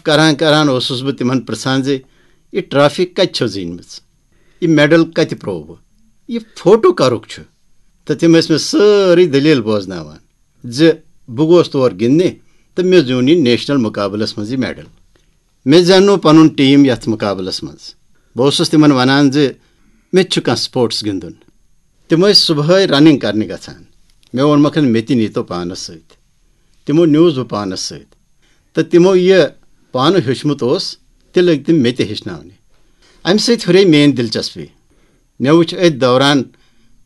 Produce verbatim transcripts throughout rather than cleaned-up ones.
کران کران اوسُس بہٕ تِمن پرژھان زِ یہِ ٹرافی کتہِ چھو زیٖنمٕژ، یہِ میڈل کتہِ پروو، یہِ فوٹو کرُک چھُ؟ تہٕ تِم ٲسۍ مےٚ سٲرٕے دٔلیٖل بوزناوان زِ بہٕ گوس تور گِنٛدنہِ تہٕ مےٚ زیوٗن یہِ نیشنل مُقابلس منٛز یہِ میڈل۔ مےٚ زیننو پنُن ٹیٖم یتھ مُقابلس منٛز۔ بہٕ اوسُس تِمن ونان زِ مےٚ تہِ چھُ کانٛہہ سپورٹس گِنٛدُن۔ تِم ٲسۍ صبحٲے رننگ کرنہِ گژھان۔ مےٚ ووٚنمکھ، مےٚ تہِ نیٖتو پانس سۭتۍ۔ تِمو نیوٗس بہٕ پانس سۭتۍ۔ تہٕ تِمو یہِ پانہٕ ہیوٚچھمُت اوس، تہِ لٔگۍ تِم مےٚ تہِ ہیٚچھناونہِ۔ امہِ سۭتۍ ہُرے میٲنۍ دلچسپی۔ مےٚ وُچھ أتھۍ دوران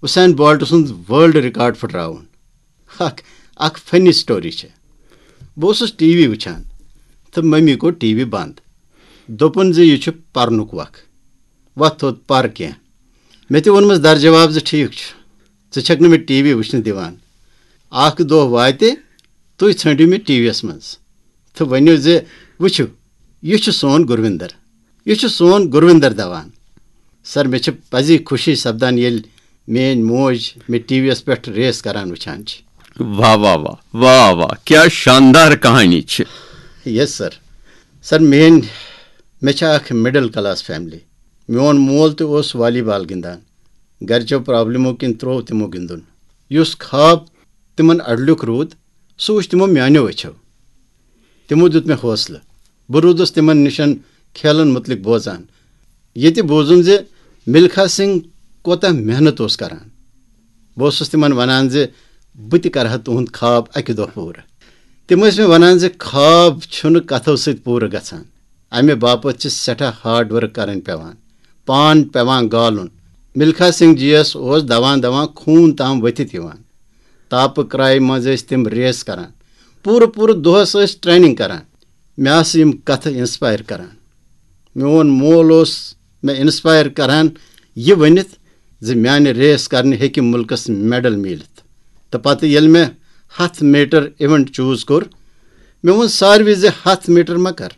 حسین بولٹ سُنٛد ورلڈ ریکارڈ پھٕٹراوُن۔ اکھ اکھ فنی سٹوری چھےٚ۔ بہٕ اوسُس ٹی وی وٕچھان تہٕ مٔمی کوٚر ٹی وی بنٛد۔ دوٚپُن زِ یہِ چھُ پرنُک وق، وۄتھ تھوٚد پر کینٛہہ۔ مےٚ تہِ ووٚنمَس در جواب زِ ٹھیٖک چھُ، ژٕ چھَکھ نہٕ مےٚ ٹی وی وٕچھنہٕ دِوان۔ اکھ دۄہ واتہِ، تُہۍ ژھٲنٛڈِو مےٚ ٹی وی یَس منٛز تہٕ ؤنِو زِ وٕچھِو، یہِ چھُ سون گُروِندر، یہِ چھُ سون گُروِندر دوان۔ سر، مےٚ چھِ پزی خوشی سپدان، ییٚلہِ میٲنۍ موج مےٚ ٹی وی یَس پٮ۪ٹھ ریس کران وٕچھان چھِ۔ واہ واہ واہ واہ واہ، کیا شاندار کہانی چھِ۔ یس سر۔ سر، میٲنۍ مےٚ چھِ اکھ مڈل کلاس فیملی۔ میون مول تہِ اوس والی بال گِنٛدان۔ گرچو پرابلمو کِنۍ تروو تِمو گِنٛدُن۔ یُس خواب تِمن اڈلیُک روٗد، سُہ وُچھ تِمو میانیو أچھو۔ تِمو دیُت مےٚ حوصلہٕ۔ بہٕ روٗدُس تِمن نِشن کھیلن مُتعلق بوزان۔ ییٚتہِ بوٗزُم زِ ملکھا سنگھ کوتاہ محنت اوس کران۔ بہٕ اوسُس تِمن ونان زِ بہٕ تہِ کرٕ ہا تُہُنٛد خواب اکہِ دۄہ پوٗرٕ۔ تِم ٲسۍ مےٚ ونان زِ خواب چھُنہٕ کتھو سۭتۍ پوٗرٕ گژھان، امہِ باپتھ چھِ سٮ۪ٹھاہ ہارڈ ورک کرٕنۍ پٮ۪وان، پان پٮ۪وان گالُن۔ ملکھا سنگھ جی یس اوس دوان دوان خوٗن تام ؤتھِتھ یِوان۔ تاپہٕ کرایہِ منٛز ٲسۍ تِم ریس کران، پوٗرٕ پوٗرٕ دۄہس ٲسۍ ٹریننگ کران۔ مےٚ آسہٕ یِم کتھٕ انسپائر کران۔ میون مول اوس مےٚ انسپائر کران یہِ ؤنِتھ زِ میانہِ ریس کرنہِ ہیٚکہِ مُلکس میڈل میٖلِتھ۔ تہٕ پتہٕ ییٚلہِ مےٚ ہتھ میٹر ایونٹ چوٗز کوٚر، مےٚ ووٚن ساروی زِ ہتھ میٹر مہ کر،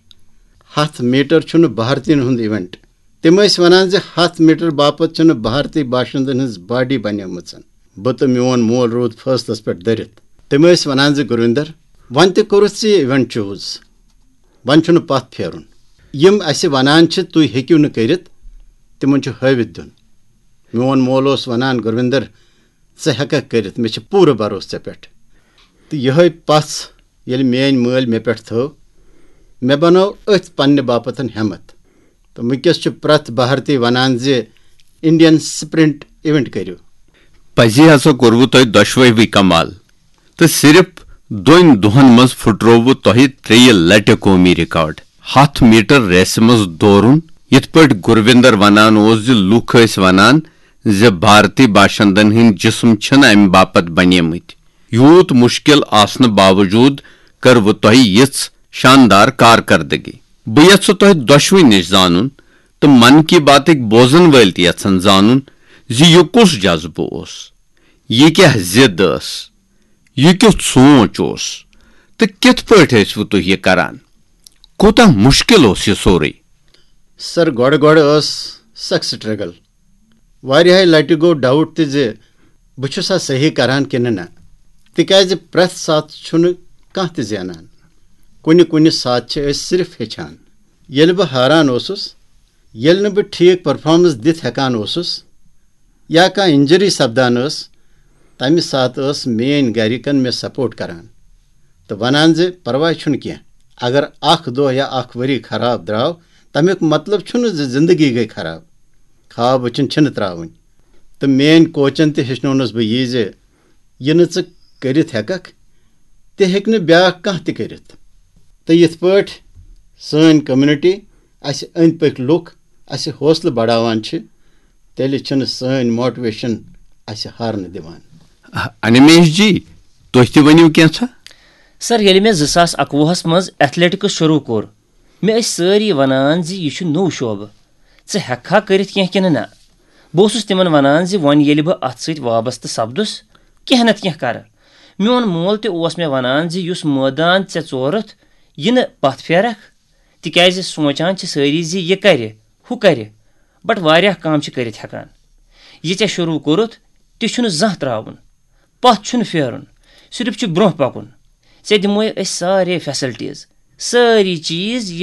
ہتھ میٹر چھُنہٕ بھارتین ہُنٛد ایونٹ۔ تِم ٲسۍ ونان زِ ہتھ میٹر باپتھ چھنہٕ بھارتی باشندن ہٕنٛز باڈی بنیمٕژ۔ بہٕ تہٕ میون مول روٗد فٲصلس پٮ۪ٹھ دٔرِتھ۔ تِم ٲسۍ ونان زِ گرویندر، وۄنۍ تہِ کوٚرُتھ ژےٚ یہِ ایونٹ چوٗز، وۄنۍ چھُنہٕ پتھ پھیرُن۔ یِم اسہِ ونان چھِ تُہۍ ہیٚکِو نہٕ کٔرِتھ، تِمن چھُ ہٲوِتھ دیُن۔ میون مول اوس ونان، گرویندر، ژٕ ہیٚککھ کٔرِتھ، مےٚ چھِ پوٗرٕ بھروسہٕ ژےٚ پٮ۪ٹھ۔ تہٕ یِہوٚے پژھ ییٚلہِ میٲنۍ مٲلۍ مےٚ پٮ۪ٹھ تھٲو، مےٚ بنٲو أتھۍ پننہِ باپتھ ہمت۔ تہٕ وٕنکیٚس چھُ پرٛٮ۪تھ بھارتی ونان زِ انڈین سپرنٹ ایونٹ کٔرِو۔ پزی ہسا کوٚروٕ تۄہہِ دۄشوٕے کمال، تہٕ صرف دۄن دۄہن منٛز پھُٹرووٕ تۄہہِ ترٛیٚیہِ لٹہِ قومی ریکارڈ۔ ہتھ میٹر ریسہِ منٛز دورُن، یِتھ پٲٹھۍ گرویندر ونان اوس زِ لوٗکھ ٲسۍ ونان زِ بھارتی باشندن ہٕنٛدۍ جسم چھِنہٕ امہِ باپتھ بنیمٕتۍ۔ یوٗت مُشکِل آسنہٕ باوجوٗد کٔروٕ تۄہہِ یِژھ شاندار کارکردگی۔ بہٕ یژھٕ تۄہہِ دۄشوٕنی نِش زانُن تہٕ من کی باتٕکۍ بوزن وٲلۍ تہِ یژھن زانُن زِ یہِ کُس جذبہٕ اوس، یہِ کیاہ ضد ٲس، یہِ کیُتھ سونچ اوس تہٕ کِتھ پٲٹھۍ ٲسوٕ تُہۍ یہِ کران؟ کوٗتاہ مُشکِل اوس یہِ سورُے؟ سر، گۄڈٕ گۄڈٕ ٲس سخ سٹرگل۔ واریاہہِ لٹہِ گوٚو ڈاوٹ تہِ زِ بہٕ چھُسا صحیح کران کِنہٕ نہ، تِکیازِ پرٛٮ۪تھ ساتہٕ چھُنہٕ کانٛہہ تہِ زینان۔ کُنہِ کُنہِ ساتہٕ چھِ أسۍ صرف ہیٚچھان۔ ییٚلہِ بہٕ ہاران اوسُس، ییٚلہِ نہٕ بہٕ ٹھیٖک پرفارمنس دِتھ ہٮ۪کان اوسُس یا کانٛہہ انجری سپدان ٲس، تمہِ ساتہٕ ٲس میٲنۍ گرِکن مےٚ سپورٹ کران تہٕ ونان زِ پرواے چھُنہٕ کینٛہہ، اگر اکھ دۄہ یا اکھ ؤری خراب درٛاو، تمیُک مطلب چھُنہٕ زِ زندگی گٔے خراب۔ خواب وٕچھِنۍ چھِنہٕ ترٛاوٕنۍ۔ تہٕ میٲنۍ کوچن تہِ ہیٚچھنونس بہٕ یی زِ یہِ نہٕ ژٕ کٔرِتھ ہٮ۪ککھ، تہِ ہیٚکہِ نہٕ بیٛاکھ کانٛہہ تہِ کٔرِتھ۔ تہٕ یِتھ پٲٹھۍ سٲنۍ کمیونٹی، اسہِ أنٛدۍ پٔکۍ لُکھ اسہِ حوصلہٕ بڑاوان چھِ، تیٚلہِ چھِنہٕ سٲنۍ موٹیویشن اسہِ ہارنہٕ دِوان۔ انمیش جی، تُہۍ تہِ ؤنِو کینٛژھا۔ سر، ییٚلہِ مےٚ زٕ ساس اَکوُہَس منٛز ایتھلیٹکس شروٗع کوٚر، مےٚ ٲسۍ سٲری ونان زِ یہِ چھُ نوٚو شعبہٕ، ژٕ ہٮ۪ککھا کٔرِتھ کینٛہہ کِنہٕ نہ؟ بہٕ اوسُس تِمن ونان زِ وۄنۍ ییٚلہِ بہٕ اتھ سۭتۍ وابستہٕ سپدُس، کینٛہہ نتہٕ کینٛہہ کرٕ۔ میون مول تہِ اوس مےٚ ونان زِ یُس مٲدان ژےٚ ژورُتھ، یہِ نہٕ پتھ پھیرکھ، تِکیازِ سونچان چھِ سٲری زِ یہِ کرِ، ہُہ کرِ، بٹ واریاہ کم چھِ کٔرِتھ ہٮ۪کان۔ یہِ ژےٚ شروٗع کوٚرُتھ، تہِ چھُنہٕ زانٛہہ ترٛاوُن، پتھ چھُنہٕ پھیرُن، صرف چھُ برونٛہہ پکُن۔ ژےٚ دِموے أسۍ سارے فیسلٹیز، سٲری چیٖز،